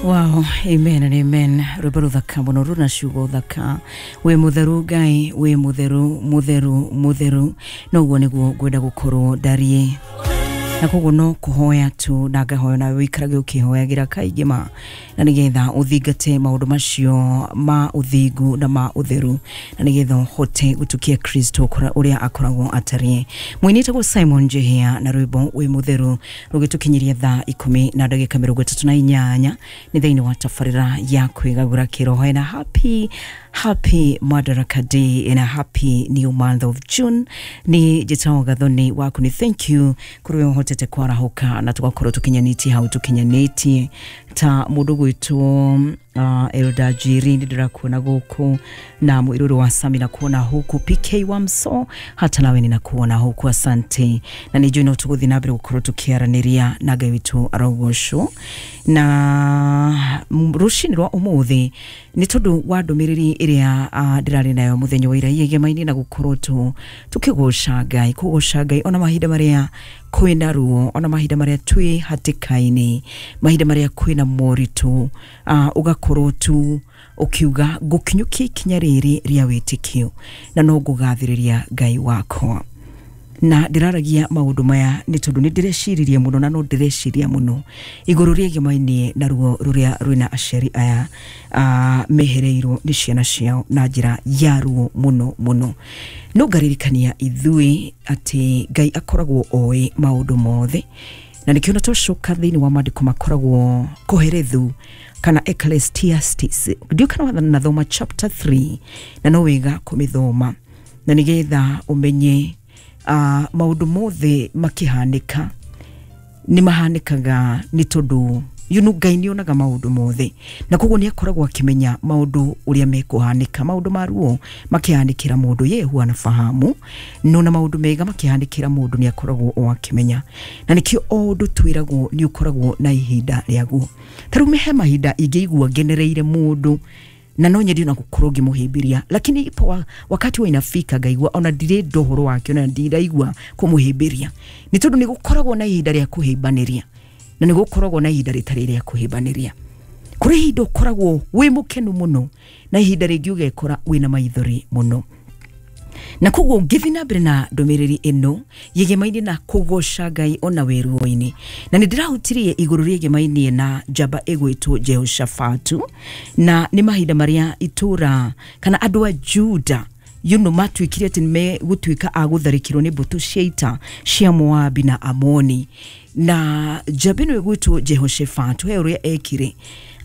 Wow, amen and amen. Rwĩmbo rũthaka mũno rũna ciugo thaka. Wĩ mũtheru Ngai, wĩ mũtheru, mũtheru, mũtheru. Noguo nĩguo ngwenda gũkorwo ndariĩ. Na koguo no kũhoya tu na ngahoya nawe wĩikarage ũkĩhoyagĩra kaingĩ ma, na nĩgetha ũthingate maũndũ macio ma ũthingu na ma ũtheru, na nĩgetha ũhote gũtukia Kristo ũrĩa akoragwo atariĩ. Mũini etagwo Simon Njihia na rwĩmbo wĩ mũtheru rũgĩtũkinyĩria thaa 10:38 nĩ thĩinĩ wa tabarĩra ya kwĩgagũra kĩroho. Na happy happy Madaraka Day and a happy new month of June. Ni njĩtagwo Gathoni waku, ni thank you kũrĩ we ũhotete kwarahũka na tũgakorwo tũkinyanĩtie hau tũkinyanĩtie ta mũndũ gwĩtwo Elda Jiri, nĩ ndĩrakuona gũkũ, na mwĩrũrũ wa Sami na kuona huku, PK wa Mso hata nawe ninakuona huku, asante. Na nĩ njũĩ no tũgũthiĩ na mbere gũkorwo tũkĩaranĩria na Ngai witũ arogocwo. Na rũcinĩ rwa ũmũthĩ nĩ tondũ wa ndũmĩrĩri ĩrĩa ndĩrarĩ nayo mũthenya wa ira igemainĩ na gũkorwo tu tũkĩgoca Ngai, kũgoca Ngai ona mahinda marĩa kwĩna ruo, ona mahinda marĩa twĩ hatĩka-inĩ, mahinda marĩa kwĩna moritũ, ũgakorwo tu ũkiuga ngũkinyũkia ikinya rĩrĩ rĩa wĩtĩkio na no ngũgathĩrĩria Ngai wakwa. Na ndĩraragia maũndũ maya nĩ tondũ nĩ ndĩreciririe mũno na no ndĩreciria mũno igũrũ rĩegemainie na ruo rũrĩa rwĩna aciari aya mehereirwo nĩ ciana ciao na njĩra ya ruo mũno mũno. No ngaririkania ithuĩ atĩ Ngai akoragwo oĩ maũndũ mothe, na nĩkĩo na twacoka thĩinĩ wa maandĩko makoragwo Koherethu kana Ecclesiastes, ndiũ kana nathoma chapter 3, na no wega kũmĩthoma na nĩgetha ũmenye maũndũ mothe makĩhanĩka nĩ mahanĩkaga nĩ tondũ Ngai nĩ onaga maũndũ mothe, na koguo nĩ akoragwo akĩmenya maũndũ ũrĩa mekũhanĩka. Maũndũ ma ruo makĩhanĩkĩra mũndũ ye huwa anafahamu, no na maũndũ mega makĩhanĩkĩra mũndũ nĩ akoragwo o akĩmenya, na nĩkĩo o ũndũ twĩragwo nĩ ũkoragwo na ihinda rĩaguo. Ta rĩu he mahinda ingĩigua ngenereire mũndũ na no nyende ona gũkorwo ngĩmũhĩmbĩria, lakini ipo wakati wa inafika ngaigua ona ndirenda ũhoro wake, ona ndiraigua kũmũhĩmbĩria, nĩ tondũ nĩ gũkoragwo na ihinda rĩa kũhĩmbanĩria na nĩ gũkoragwo na ihinda rĩtarĩ rĩa kũhĩmbanĩria. Kũrĩ ihinda ũkoragwo wĩ mũkenu mũno na ihinda rĩngĩ ũgekora wĩna maithori mũno. Na koguo ngĩthiĩ na mbere na ndũmĩrĩri ĩno yĩgemaine na kũgoca Ngai ona wĩ ruo-inĩ, na nĩ ndĩrahutirie igũrũ rĩegemainie na njamba ĩgwĩtwo Jehoshafatu, na nĩ mahinda marĩa itũra kana andũ a Juda matuĩkire atĩ nĩmegũtuĩka a gũtharĩkĩrwo nĩ mbũtũ cia ita cia Moabi na Amoni. Na njamba ĩno ĩgwĩtwo Jehoshafatu he ũrĩa ekire,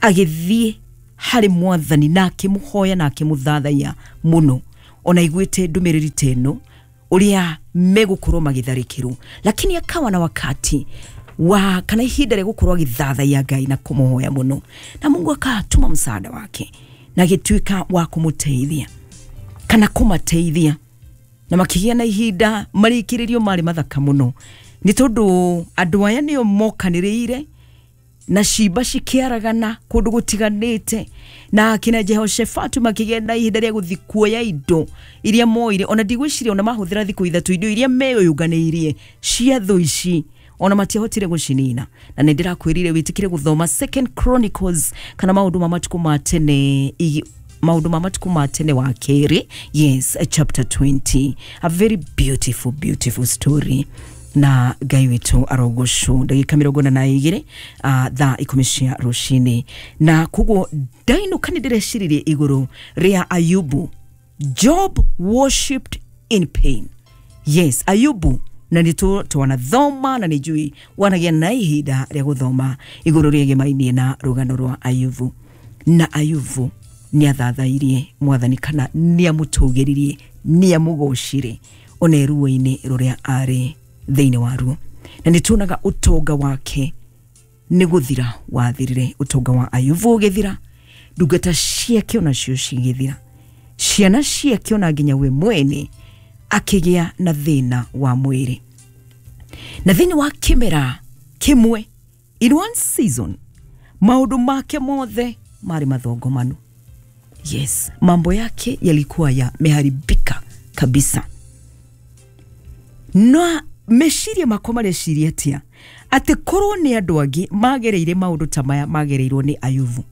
agĩthiĩ harĩ mwathani na akĩmũhoya na akĩmũthathaiya mũno, ona iguĩte ndũmĩrĩri ta ĩno ũrĩa megũkorwo magĩtharĩkĩrwo, lakini akawa na wakati wa kana ihinda rĩa gũkorwo agĩthathaiya Ngai na kũmũhoya mũno, na Mungu akatuma msaada wake na agĩtuĩka wa kũmũteithia kana kũmateithia, na makĩgĩa na ihinda marĩkĩrĩrio marĩ mathaka mũno, nĩ tondũ andũ aya nĩo mokanĩrĩire na cimba cikĩaragana kũndũ gũtiganĩte, na akina Jehoshafatu makĩgĩa na ihinda rĩa gũthiĩ kuoya indo iria moire. Ona ndigwĩciria ona mahũthĩra thikũ 3 indo iria meyũnganĩirie cia thũ ici ona matiahotire gũcinina. Na nĩ ndĩrakwĩrire wĩtĩkĩre gũthoma Second Chronicles kana maũndũ ma matukũ ma tene, maũndũ ma matukũ ma tene wa kerĩ, yes, chapter 20, a very beautiful beautiful story. Na Ngai witũ arogocwo. Ndagĩka 42 thaa 10 cia rũcinĩ. Na koguo ndainũka nĩ ndĩreciririe igũrũ rĩa Ayubu. Job worshipped in pain. Yes, Ayubu, na nĩ twanathoma na nĩ njũĩ wanagĩa na ihinda rĩa gũthoma igũrũ rĩegemainie na rũgano rwa Ayubu. Na Ayubu nĩ athathairie mwathani kana nĩ amũtũgĩririe, nĩ amũgocire ona ruo-inĩ rũrĩa arĩ thĩinĩ wa ruo. Na nĩ tuonaga ũtonga wake nĩ gũthira wathirire, ũtonga wa Ayubu ũgĩthira, ndungata ciake onacio cigĩthira, ciana ciake ona nginya we mwene akĩgĩa na thĩna wa mwĩrĩ. Na thĩinĩ wa kĩmera kĩmwe, in one season, maũndũ make mothe marĩ mathongomanu. Yes, mambo yake yalikuwa yameharibika kabisa. Na meciria makwa mareciria atia? Atĩ korwo nĩ andũ angĩ magereire maũndũ ta maya magereirwo nĩ Ayubu,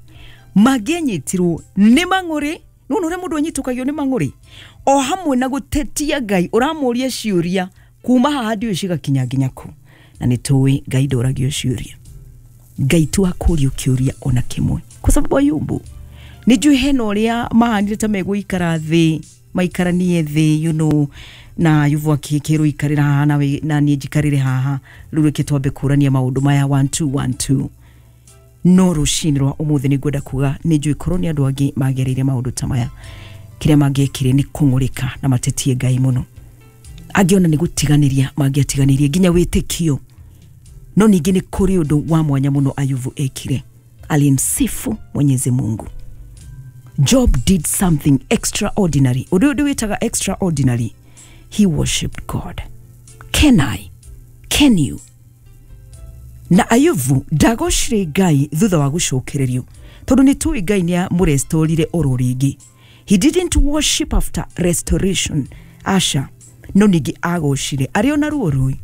mangĩanyitirwo nĩ mang'ũrĩ. Nĩwona ũrĩa mũndũ anyitũkagio nĩ mang'ũrĩ o hamwe na gũtetia Ngai, ũramũria ciũria kuma haha ndiũĩ cigakinya nginya kũ. Na nĩ tũĩ Ngai ndoragio ciũria, Ngai tu akũrio kĩũria ona kĩmwe, kwa sababu Ayubu nĩ njũĩ hena ũrĩa mahanire ta megũikara thĩ, maikaranie thĩ, you know, na Ayubu akĩrwo ikarĩra haha nawe na niĩ njikarĩre haha, rĩu reke twambe kũrania maũndũ maya 1 2 1 2. No rũcinĩ rwa ũmũthĩ nĩ ngwenda kuga nĩ njũĩ korwo nĩ andũ angĩ magereire maũndũ ta maya, kĩrĩa mangĩekire nĩ kũng'ũrĩka na matetie Ngai mũno. Angĩona nĩ gũtiganĩria mangĩatiganĩirie nginya wĩtĩkio. No ningĩ nĩ kũrĩ ũndũ wa mwanya mũno Ayubu ekire, alimsifu Mwenyezi Mungu. Job did something extraordinary. Ũndũ ũyũ ndĩwĩtaga extraordinary. He worshipped God. Can I? Can you? Na Ayubu ndagocire Ngai thutha wa gũcokererio, tondũ nĩ tũĩ Ngai nĩ amũrestorire oro rĩngĩ. He didn't worship after restoration, aca. No ningĩ agocire arĩ ona ruo rũi,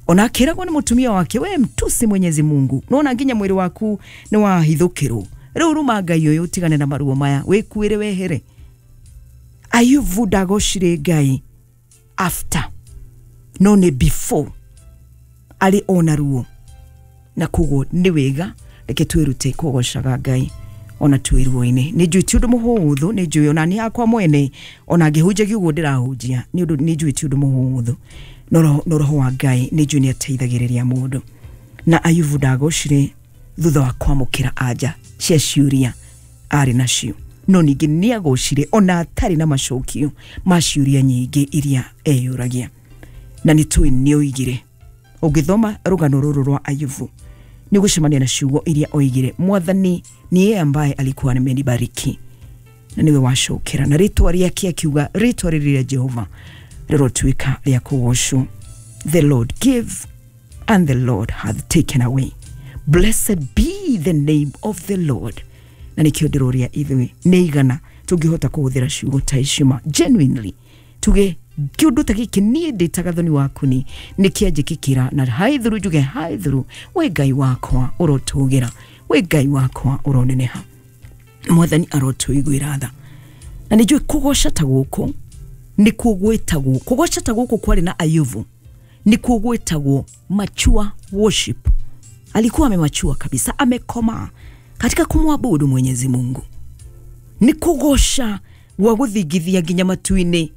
ona akĩragwo nĩ mũtumia wake, we mtusi Mwenyezi Mungu, nona nginya mwĩrĩ waku nĩ wahithũkĩrwo, rĩu ruma Ngai ũyũ ũtigane na maruo maya, wĩkuĩre wehere. Ayubu ndagocire Ngai after, no nĩ before, arĩ ona ruo. Na koguo nĩ wega reke twĩrute kũgocaga Ngai ona twĩ ruo-inĩ. Nĩ njũĩ ti ũndũ mũhũthũ, nĩ njũĩ ona niĩ hakwa mwene ona ngĩhunjagia ũguo ndĩrahunjia, nĩ ũndũ nĩ njũĩ ti ũndũ mũhũthũ, no roho wa Ngai nĩ njũĩ nĩ ateithagĩrĩria mũndũ. Na Ayubu ndagocire thutha wa kwamũkĩra anja cia ciũria arĩ nacio, no ningĩ nĩ agocire ona atarĩ na macokio ma ciũria nyingĩ iria eyũragia. Na nĩ tũĩ nĩ oigire, ũngĩthoma rũgano rũrũ rwa Ayubu nĩ ũgũcemania na ciugo iria oigire, Mwathani ni yeye ambaye alikuwa amenibariki na niwe wacokera. Na rĩtwa rĩake akiuga, rĩtwa rĩrĩ rĩa Jehova rĩrotuĩka rĩa kũgocwo. The Lord give and the Lord hath taken away, blessed be the name of the Lord. Na nĩkĩo ndĩroria ithuĩ nĩ igana tũngĩhota kũhũthĩra ciugo ta icio ma genuinely, tuge kĩũndũ ta gĩkĩ niĩ ndĩ ta Gathoni waku ni nĩkĩanjĩkĩkĩra, na haithuru njuge haithuru, we Ngai wakwa ũrotũgĩra, we Ngai wakwa ũroneneha, Mwathani arotũiguĩra tha. Na nĩ njũĩ kũgoca ta gũkũ nĩkuo gwĩtagwo, kũgoca ta gũkũ kwarĩ na Ayubu nĩkuo gwĩtagwo mature worship. Alikuwa amemachua kabisa, amekomaa katika kumwabudu Mwenyezi Mungu. Nĩ kũgoca gwa gũthingithia nginya matu-inĩ,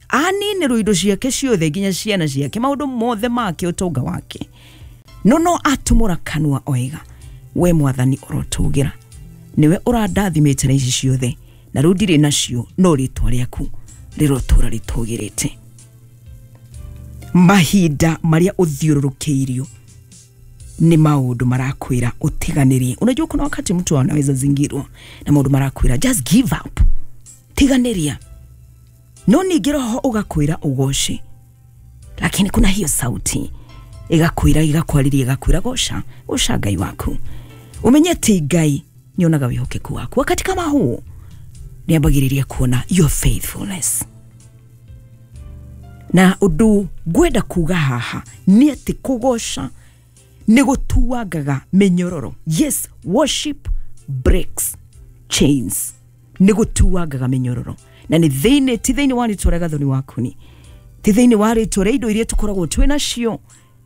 aninĩrwo indo ciake ciothe nginya ciana ciake, maũndũ mothe make, ũtonga wake, no no atumũra kanua oiga, we Mwathani ũrotũgĩra, nĩwe ũrandathimĩte na ici ciothe, na rĩu ndirĩ nacio, no rĩtwa rĩaku rĩrotũra rĩtũgĩrĩte. Mahinda marĩa ũthiũrũrũkĩirio nĩ maũndũ marakwĩra ũtiganĩrie. Unajua kuna wakati mtu anaweza zingirwa na maũndũ marakwĩra just give up, tiganĩria. No ningĩ roho ũgakwĩra ũgoce, lakini kuna hiyo sauti ĩgakwĩra, ĩgakwarĩria, ĩgakwĩra goca, goca Ngai waku. Umenye atĩ Ngai nĩonaga wĩhokeku waku. Wakati kama huu nĩambagĩrĩria kuona your faithfulness. Na ũndũ ngwenda kuga haha nĩ atĩ kũgoca nĩ gũtuangaga mĩnyororo. Yes, worship breaks chains. Nĩ gũtuangaga mĩnyororo. Na nĩ thĩinĩ, ti thĩinĩ wa rĩtwa rĩa Gathoni waku ni, ti thĩinĩ wa rĩtwa rĩa indo iria tũkoragwo twĩ nacio,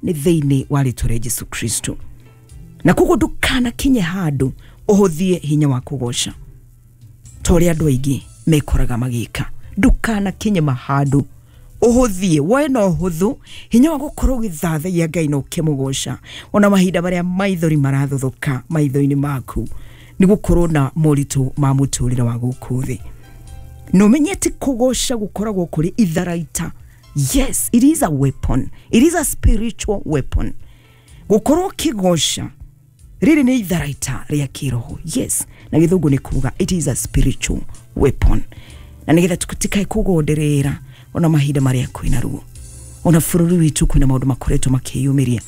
nĩ thĩinĩ wa rĩtwa rĩa Jesu Kristo. Na koguo ndũkanakinye handũ ũhũthie hinya wa kũgoca ta ũrĩa andũ aingĩ mekoraga magĩka. Ndũkanakinye mahandũ ũhũthie, woe na ũhũthũ hinya wa gũkorwo ũgĩthathaiya Ngai na ũkĩmũgoca ona mahinda marĩa maithori marathothũka maitho-inĩ maku nĩ gũkorwo na moritũ ma mũtũrĩre wa gũkũ thĩ. Na ũmenye atĩ kũgoca gũkoragwo kũrĩ itharaita. Yes, it is a weapon. It is a spiritual weapon. Gũkorwo ũkĩgoca rĩrĩ nĩ itharaita rĩa kĩroho. Yes, na gĩthũngũ nĩ kuga it is a spiritual weapon. Na nĩgetha tũtikae kũgonderera ona mahinda marĩa kwĩna ruo, ona bũrũri witũ kwĩna maũndũ makoretwo makĩyumĩria.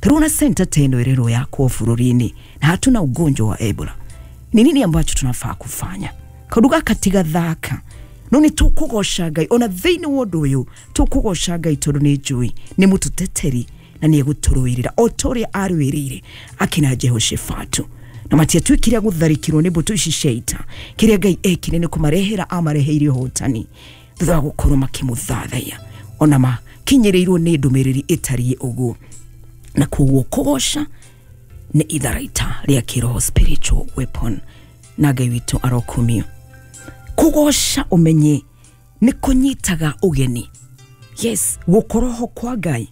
Taruna center teno ĩrerwo yakwo bũrũri-inĩ na hatuna ugonjwa wa Ebola. Ni nini ambacho tunafaa kufanya? Kaũndũ gaka ti gathaka, no nĩ tũkũgoca Ngai ona thĩinĩ wa ũndũ ũyũ, tũkũgoca Ngai tondũ nĩ njũĩ nĩ mũtũteteri na nĩ egũtũrũĩrĩra o ta ũrĩa arũĩrĩire akina Jehoshafatu. Na matiatuĩkire gũtharĩkĩrwo nĩ mbũtũ ici cia ita. Kĩrĩa Ngai ekire nĩ kũmarehera amareheire ũhotani thutha wa gũkorwo makĩmũthathaiya, ona makinyĩrĩirwo nĩ ndũmĩrĩri ĩtariĩ ũguo. Na koguo kũgoca nĩ itharaita rĩa kĩroho, spiritual weapon, na Ngai witũ arokumio. Kũgoca ũmenye nĩ kũnyitaga ũgeni, yes, gũkorwo kwa Ngai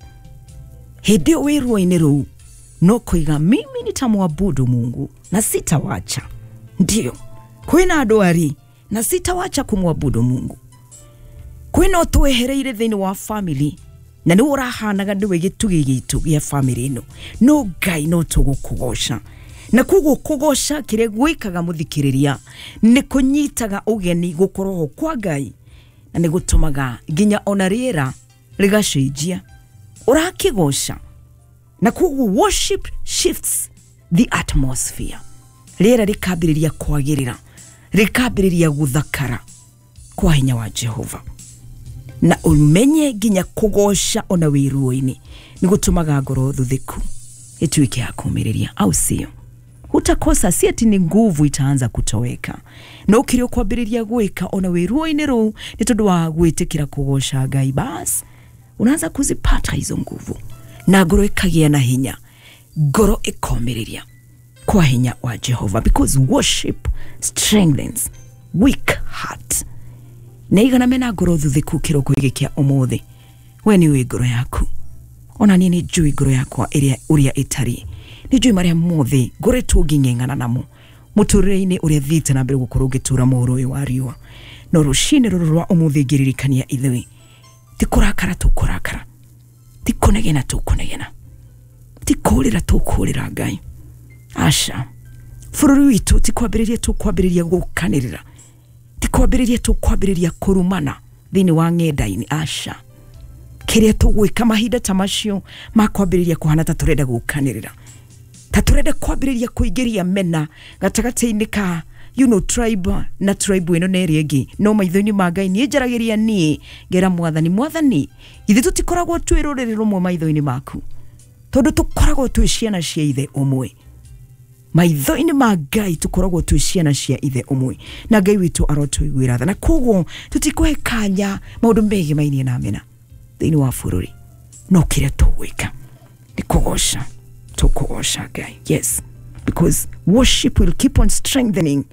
hĩndĩ ĩyo wĩ ruo-inĩ rũu no kuiga mimi nitamwabudu Mungu na sitawacha. Ndio kwĩna ndwari na sitawacha kumwabudu Mungu. Kwĩna ũtwehereire thĩinĩ wa family na nĩ ũrahanaga nĩwe gĩtugĩ gitũ gĩa family ĩno, no Ngai no tũgũkũgoca. Na koguo kũgoca kĩrĩa gwĩkaga mũthikĩrĩria nĩ kũnyitaga ũgeni gũkorwo kwa Ngai, na nĩ gũtũmaga nginya ona rĩera rĩgacenjia ũrakĩgoca. Na koguo worship shifts the atmosphere, rĩera rĩkambĩrĩria kwagĩrĩra, rĩkambĩrĩria gũthakara kwa hinya wa Jehova. Na ũmenye nginya kũgoca ona wĩ ruo-inĩ nĩ gũtũmaga ngoro thuthĩku ĩtuĩke ya kũũmĩrĩria, au sio? Hutakosa, si ati ni nguvu itaanza kutoweka, no kĩrĩa ũkwambĩrĩria gwĩka ona wĩ ruo-inĩ rũu nĩ tondũ wa gwĩtĩkĩra kũgoca Ngai, bas unaanza kuzipata hizo nguvu na ngoro ĩkagĩa na hinya, ngoro ĩkomĩrĩria kwa hinya wa Jehova, because worship strengthens weak heart. Na igana mena ngoro thuthĩku kĩroko gĩkĩ kĩa ũmũthĩ. We nĩ ũĩ ngoro yaku, ona niĩ nĩ njũĩ ngoro yakwa ĩrĩa ũrĩa ĩtariĩ, nĩ njũĩ marĩa mothe ngoretwo ngĩng'eng'ana namo mũtũrĩre-inĩ ũrĩa thiĩte na mbere gũkorwo ngĩtũra mũhuro ũyũ wa riũa. No rũcinĩ rũrũ rwa ũmũthĩ ngĩririkania ithuĩ ti kũrakara tũkũrakara, ti kũnegena tũkũnegena, ti kũũrĩra tũkũũrĩra Ngai, aca. Bũrũri witũ ti kwambĩrĩria tũkwambĩrĩria gũkanĩrĩra, ti kwambĩrĩria tũkwambĩrĩria kũrumana thĩinĩ wa ng'enda-inĩ, aca. Kĩrĩa tũgwĩka mahinda ta macio ma kwambĩrĩria kũhana ta tũrenda gũkanĩrĩra, ta tũrenda kwambĩrĩria kũingĩria mena gatagatĩ-inĩ ka tribe na tribe ĩno na ĩrĩa ĩngĩ, no maitho-inĩ ma Ngai niĩ njaragĩria niĩ ngera Mwathani, Mwathani, ithuĩ tũtikoragwo twĩ rũrĩrĩ rũmwe maitho-inĩ maku, tondũ tũkoragwo twĩ ciana cia ithe ũmwe. Maitho-inĩ ma Ngai tũkoragwo twĩ ciana cia ithe ũmwe, na Ngai witũ arotũiguĩra tha. Na koguo tũtikũhe kanya maũndũ megemainie na mena thĩinĩ wa bũrũri, no kĩrĩa tũgwĩka nĩ kũgoca, tũkũgoca Ngai. Yes, because worship will keep on strengthening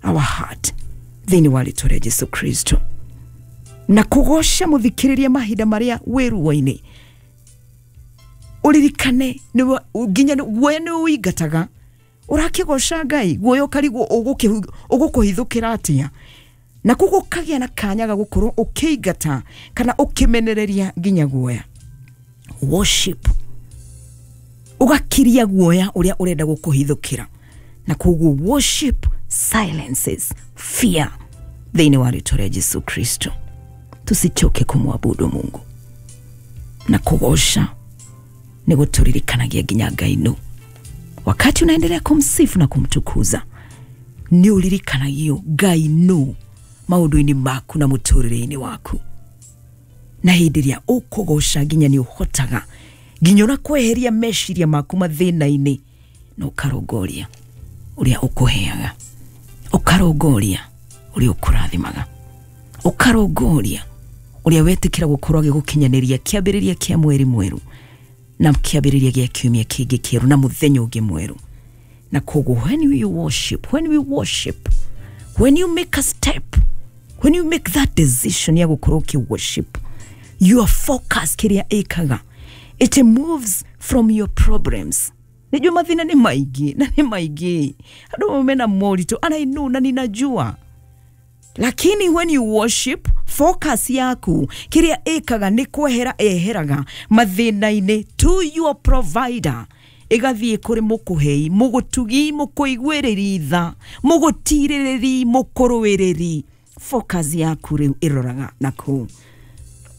our heart thĩinĩ wa rĩtwa rĩa Jesu Kristo. Na kũgoca mũthikĩrĩria mahinda marĩa wĩ ruo-inĩ, ũririkane nginya guoya nĩ ũingataga. Ũrakĩgoca Ngai, guoya ũkarigwo ũgũkũhithũkĩra atĩa, na koguo ũkagĩa na kanya ga gũkorwo ũkĩingata kana ũkĩmenereria nginya guoya. Worship ũgakiria guoya ũrĩa ũrenda gũkũhithũkĩra, na koguo worship silences fear thĩinĩ wa rĩtwa rĩa Jesu Kristo. Tusichoke kumwabudu Mungu, na kũgoca nĩ gũtũririkanagia nginya Ngai nũ. Wakati unaendelea kumsifu na kumtukuza, nĩ ũririkanagio Ngai nũ maũndũ-inĩ maku na mũtũrĩre-inĩ waku. Na hĩndĩ ĩrĩa ũkũgoca nginya nĩ ũhotaga nginya ona kweheria meciria maku mathĩna-inĩ, na ũkarongoria ũrĩa ũkũheaga, ũkarongoria ũrĩa ũkũrathimaga, ũkarongoria ũrĩa wetĩkĩra gũkorwo agĩgũkinyanĩria kĩambĩrĩria kĩa mweri mwerũ na kĩambĩrĩria gĩa kiumia kĩngĩ kĩerũ na mũthenya ũngĩ mwerũ. Na koguo when you worship, when we worship, when you make a step, when you make that decision ya gũkorwo ũkĩ worship, your focus kĩrĩa ĩkaga, it moves from your problems. Nijua mathĩna nĩ maingĩ na nĩ maingĩ, andũ mena moritũ, and I know, na ninajua, lakini when you worship, focus yaku kĩrĩa ĩkaga nĩ kwehera eheraga mathĩna-inĩ to your provider, ĩgathiĩ kũrĩ mũkũhei, mũgũtugi, mũkũiguĩrĩri tha, mũgũtirĩrĩri, mũkũrũĩrĩri. Focus yaku rĩu ĩroraga na kũu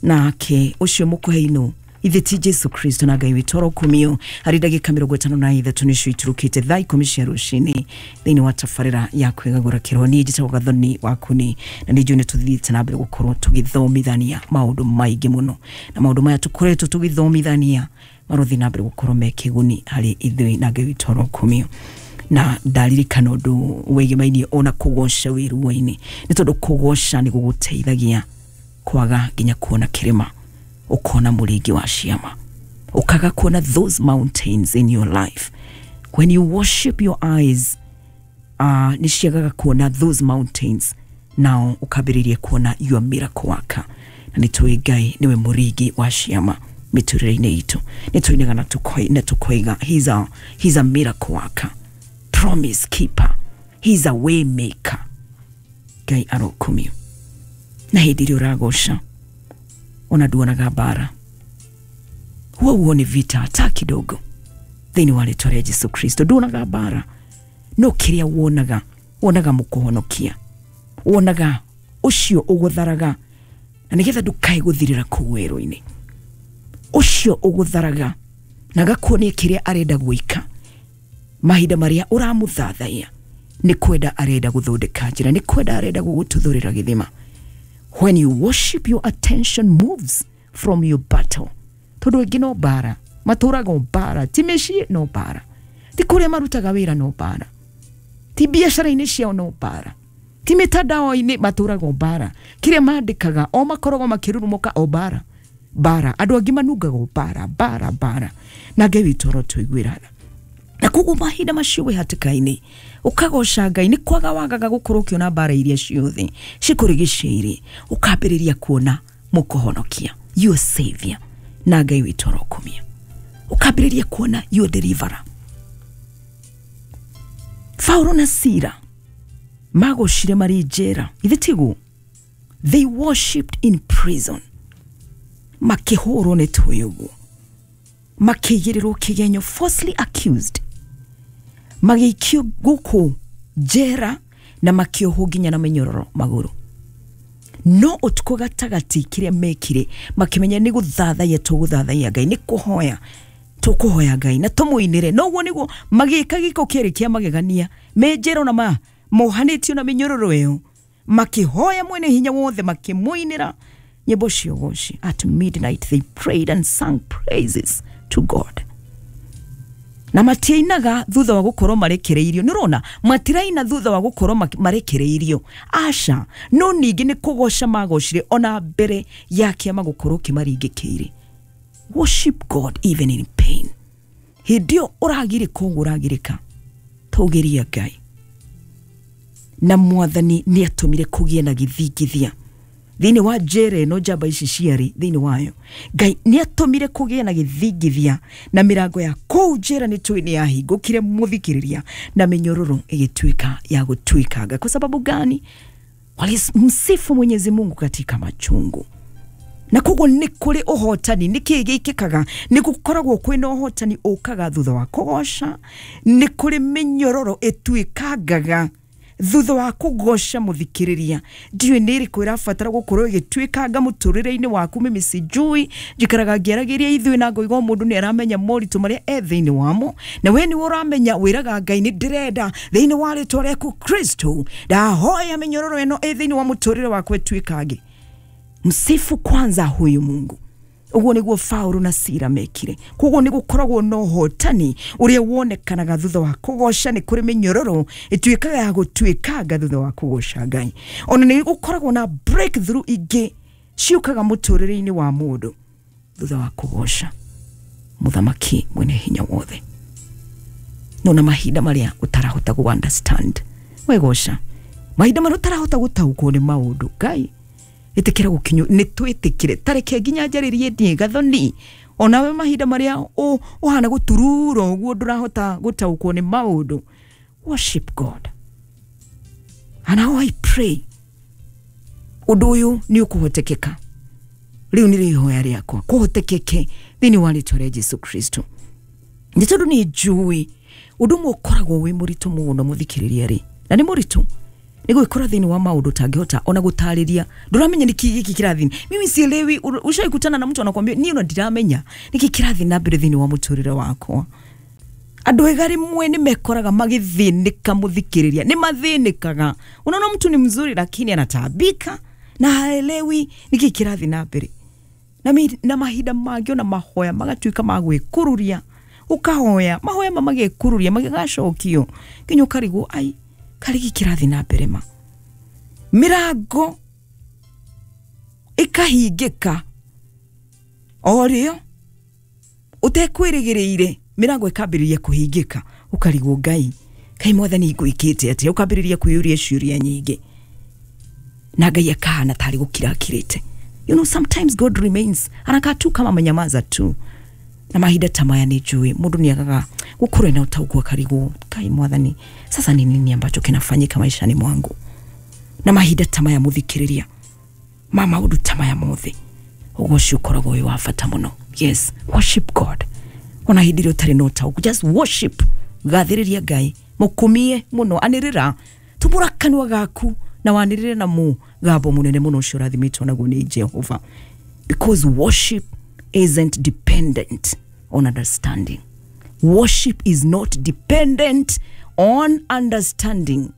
nake ũcio mũkũhei nũ? Ithe ti Jesu Kristo. Na Ngai witũ arokumio. Harĩ ndagĩka 53 nĩcio iturũkĩte thaa 10 cia rũcinĩ thĩinĩ wa tabarĩra ya kwĩgagũra kĩroho. Niĩ njĩtagwo Gathoni Wakuni, na nĩ njũĩ nĩ tũthiĩte na mbere gũkorwo tũgĩthomithania maũndũ maingĩ mũno, na maũndũ maya tũkoretwo tũgĩthomithania Marothi na mbere gukorwo me kiguni hari ithui na Ngai witũ arokumio. Na ndaririkana ũndũ wĩgĩmainie ona kũgoca wĩ ruo-inĩ, nĩ tondũ kũgoca nĩ gũgũteithagia kwaga nginya kuona kĩrĩma, ũkona mũringi wa ciama, ũkaga kuona those mountains in your life. When you worship, your eyes nĩ ciagaga kuona those mountains, nao ũkambĩrĩria kuona your miracle worker. Na nĩ tũĩ Ngai nĩwe mũringi wa ciama mĩtũrĩre-inĩ itũ. Nĩ tũinaga na tũkoiga he's a miracle worker, promise keeper, he's a way maker. Ngai arokumio. Na hĩndĩ ĩrĩa ũragoca ona nduonaga mbara, huo huoni vita hata kidogo thĩinĩ wa rĩtwa rĩa Jesu Kristo. Nduonaga mbara, no kĩrĩa wonaga, wonaga mũkũhonokia, wonaga ũcio ũgũtharaga, na nĩgetha ndũkae gũthirĩra kũu werũ-inĩ. Ũcio ũgũtharaga na agakuonia kĩrĩa arenda gwĩka mahinda marĩa ũramũthathaiya, nĩ kwenda arenda gũthondeka njĩra, nĩ kwenda arenda gũgũtuthũrĩra gĩthima. When you worship, your attention moves from your battle. Tondũ aingĩ no mbara matũraga, o mbara, ti mĩciĩ no mbara, ti kũrĩa marutaga wĩra no mbara, ti biacara-inĩ ciao no mbara, ti mĩtandao-inĩ matũraga o mbara, kĩrĩa mandĩkaga o makoragwo makĩrurumũka o mbara mbara. Andũ angĩ manungaga o mbara mbara mbara. Na Ngai witũ arotũiguĩra tha. Na koguo mahinda macio wĩ hatĩka-inĩ ũkagoca Ngai, nĩ kwaga wagaga gũkorwo ũkĩona mbara iria ciothe cikũrigicĩirie, ũkambĩrĩria kuona mũkũhonokia, your savior. Na Ngai witũ arokumia. Ũkambĩrĩria kuona your deliverer. Paulo na Sila magocire marĩ njera, ithe tiguo? They worshipped in prison, makĩhũrwo nĩ tũĩ ũguo, makĩigĩrĩrwo kĩgenyo, falsely accused, magĩikio gũkũ njera na makĩohwo nginya na mĩnyororo magũrũ. No ũtukũ gatagatĩ kĩrĩa mekire, makĩmenya nĩ gũthathaiya tũgũthathaiya Ngai, nĩ kũhoya tũkũhoya Ngai na tũmũinĩre. Noguo nĩguo magĩka gĩko kĩarĩ kĩa magegania me njera, ona ma mohanĩtio na mĩnyororo ĩyo, makĩhoya mwene hinya wothe, makĩmũinĩra nyĩmbo cia ũgoci. At midnight they prayed and sang praises to God. Na matiainaga thutha wa gũkorwo marekereirio. Nĩ ũrona matiraina thutha wa gũkorwo marekereirio, aca. No ningĩ nĩ kũgoca magocire ona mbere ya kĩama gũkorwo kĩmaringĩkĩire. Worship God even in pain. Hĩndĩ ĩyo ũragirĩka ũguo ũragirĩka, tũgĩria Ngai. Na Mwathani nĩ atũmire kũgĩe na gĩthingithia thĩinĩ wa njera ĩno njamba ici ciarĩ thĩinĩ wayo. Ngai nĩ atũmire kũgĩe na gĩthingithia, na mĩrango ya kũu njera nĩ tũĩ nĩ yahingũkire, mũthikĩrĩria, na mĩnyororo ĩgĩtuĩka ya gũtuĩkanga. Kwa sababu gani? Walimsifu Mwenyezi Mungu katika machungu. Na koguo nĩ kũrĩ ũhotani. Nĩ kĩĩ gĩkĩkaga? Nĩ gũkoragwo kwĩna ũhotani ũkaga thutha wa kũgoca. Nĩ kũrĩ mĩnyororo ĩtuĩkangaga thutha wa kũgoca, mũthikĩrĩria. Ndiũĩ nĩ ĩrĩkũ ĩrabatara gũkorwo ĩgĩtuĩkanga mũtũrĩre-inĩ waku. Mimi sijui, njikaraga ngĩaragĩria ithuĩ na ngoiga o mũndũ nĩ aramenya moritũ marĩa e thĩinĩ wamo, na we nĩwe ũramenya. Wĩraga Ngai, nĩ ndĩrenda thĩinĩ wa rĩtwa rĩaku Kristo, ndahoya mĩnyororo ĩno ĩ thĩinĩ wa mũtũrĩre wakwa ĩtuĩkange. Msifu kwanza huyu Mungu. Ũguo nĩguo Paulo na Sila mekire. Koguo nĩ gũkoragwo na ũhotani ũrĩa wonekanaga thutha wa kũgoca. Nĩ kũrĩ mĩnyororo ĩtuĩkaga ya gũtuĩkanga thutha wa kũgoca Ngai. Ona nĩ gũkoragwo na breakthrough ingĩ ciũkaga mũtũrĩre-inĩ wa mũndũ thutha wa kũgoca mũthamaki mwene hinya wothe. No na mahinda marĩa ũtarahota gũ understand, wegoca. Mahinda marĩa ũtarahota gũtaũkwo nĩ maũndũ, Ngai ĩtĩkĩra gũkinywo nĩ twĩtĩkĩre. Tareke nginya njarĩrie ndiĩ Gathoni, onawe mahinda marĩa ũhana gũturura ũguo, ndũrahota gũtaũkwo nĩ maũndũ, worship God. And how I pray ũndũ ũyũ nĩ ũkũhotekeka rĩu, nĩ rĩhoya rĩakwa kũhotekeke thĩinĩ wa rĩtwa rĩa Jesu Kristo, nĩ tondũ nĩ njũĩ ũndũ ũmwe ũkoragwo wĩ mũritũ mũno, mũthikĩrĩria rĩ, na nĩ mũritũ nĩ gwĩkora thĩinĩ wa maũndũ ũtangĩhota ona gũtarĩria. Ndũramenya nĩkĩ gĩkĩ kĩrathiĩ. Mimi sielewi. Ushaikutana na mtu anakwambia, niĩ ona ndiramenya nĩkĩ kĩrathiĩ na mbere thĩinĩ wa mũtũrĩre wakwa? Andũ ega rĩmwe nĩ mekoraga magĩthĩnĩka, mũthikĩrĩria, nĩ mathĩnĩkaga. Unaona mtu ni mzuri lakini anataabika na haelewi nĩkĩ kĩrathiĩ na mbere. Na mahinda mangĩ ona mahoya magatuĩka ma gwĩkururia, ũkahoya mahoya ma magekururia magĩgacokio nginya ũkarigwo ai karigi kĩrathiĩ na mbere ma mĩrango ĩkahingĩka o rĩo ũtekwĩrĩgĩrĩire, mĩrango ĩkambĩrĩria kũhingĩka, ũkarigwo Ngai kai mwathani ngwĩkĩte atĩa, ũkambĩrĩria kwĩyũria ciũria nyingĩ na Ngai akahana tarĩ gũkira akirĩte. You know, sometimes God remains anakaa tu kama amenyamaza tu. Na mahinda ta maya nĩ njũĩ mũndũ nĩ agaga gũkorwo na ũtaũku akarigwo Ngai mwathani sasa ni nini ambacho kinafanyika maishani mwangu. Na mahinda ta maya mũthikĩrĩria ma maũndũ ta maya mothe ũgoci ũkoragwo wĩ wa bata mũno. Yes, worship God ona hĩndĩ ĩrĩa ũtarĩ na ũtaũku, just worship, gathĩrĩria Ngai, mũkumie mũno, anĩrĩra, tumũra kanua gaku na wanĩrĩre na mũgambo mũnene mũno ũcio ũrathimĩtwo naguo nĩ Jehova, because worship isn't dependent on understanding. Worship is not dependent on understanding.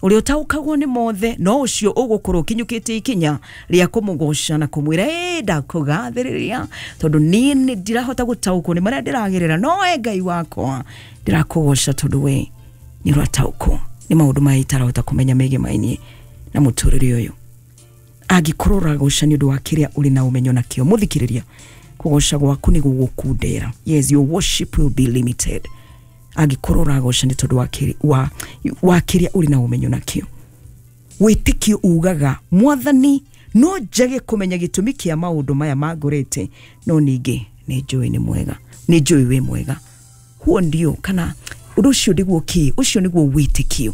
Ũrĩa ũtaũkagwo nĩ mothe no ũcio ũgũkorwo ũkinyũkĩtie ikinya rĩa kũmũgoca na kũmwĩra ĩ ndakũgathĩrĩria tondũ niĩ nĩ ndirahota gũtaũkwo nĩ marĩa ndĩragerera, no we Ngai wakwa ndĩrakũgoca tondũ we nĩ ũrataũkwo nĩ maũndũ maya itarahota kũmenya megemainie na mũtũrĩre ũyũ. Angĩkorwo ũragoca nĩ ũndũ wa kĩrĩa ũrĩ na ũmenyo nakĩo, mũthikĩrĩria, kũgoca gwaku nĩ gũgũkundera. Yes, your worship will be limited angĩkorwo ũragoca nĩ tondũ wa kĩrĩa ũrĩ na ũmenyo nakĩo. Wĩtĩkio ugaga mwathani no njage kũmenya gĩtũmi kĩa maũndũ maya mangorete, no ningĩ nĩ njũĩ nĩ mwega, nĩ njũĩ wĩ mwega. Huo ndio kana ũndũ ũcio nĩguo kĩ, ũcio nĩguo wĩtĩkio.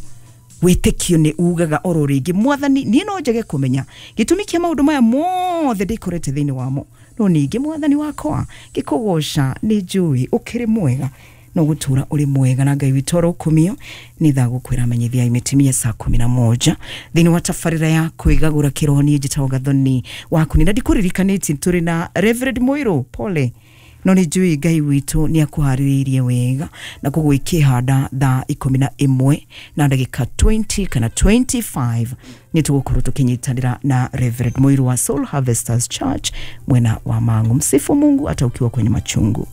Wĩtĩkio nĩ ugaga oro rĩngĩ mwathani niĩ no njage kũmenya gĩtũmi kĩa maũndũ maya mothe ndĩkorete thĩinĩ wamo, no ningĩ mwathani wakwa ngĩkũgoca nĩ njũĩ ũkĩrĩ mwega no gũtũra ũrĩ mwega. Na Ngai witũ arokumio. Nĩ thaa gũkwĩra menyithia imetimia saa 11 thĩinĩ wa tabarĩra ya kwĩgagũra kĩroho. Niĩ njĩtagwo Gathoni waku na ndikũririkanĩtie tũrĩ na Reverend Mũirũ, pole, no nĩ njũĩ Ngai witũ nĩ akũharĩrĩirie wega na koguo ikĩhanda thaa 11 na ndagĩka 20 kana 25 nĩ tũgũkorwo tũkĩnyitanĩra na Reverend Mũirũ wa Soul Harvesters Church mwena wa Mang'u. Msifu Mungu hata ukiwa kwenye machungu.